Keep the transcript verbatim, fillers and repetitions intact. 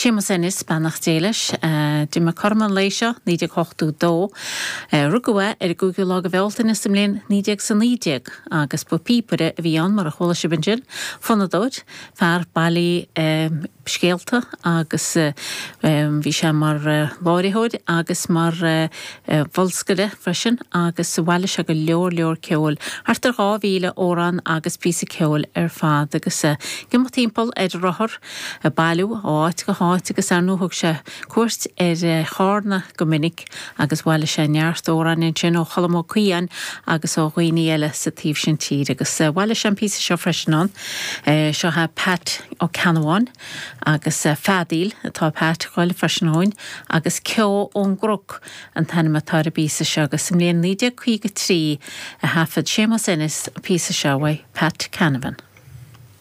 Séamus Ennis, beannacht Dé leis, d'imigh cothrom an lae seo, naoi déag ochtó dó. Rugadh é ar an gcúigiú lá de Bhealtaine sa mbliain naoi déag is a naoi déag agus ba phíopaire a bhí ann mar a chuala sibh ansin, fonnadóir, fear bailí scéalta agus bhí sé mar láithreoir agus mar bholscaire freisin agus bhailigh sé go leor leor ceoil, thart ar dhá mhíle amhrán agus píosa ceoil ar fad agus ag imeacht timpeall ar a rothar ag bailiú ó áit go háit agus ar ndóigh thug sé cuairt ar Chárna go minic agus bhailigh sé neart amhráin ansin ó Cholm Ó Caodháin agus ó dhaoine eile sa taobh sin tíre agus bhailigh sé an píosa seo freisin ann. Seo é Pat Ó Ceannabháin agus Feadaíl atá Pat ag gabháil freisin dhúinn agus Ceo ón gCnoc an t-ainm atá ar an bpíosa seo agus sa mbliain naoi déag caoga trí a thaifead Séamus Ennis an píosa seo uaidh Pat Canavan.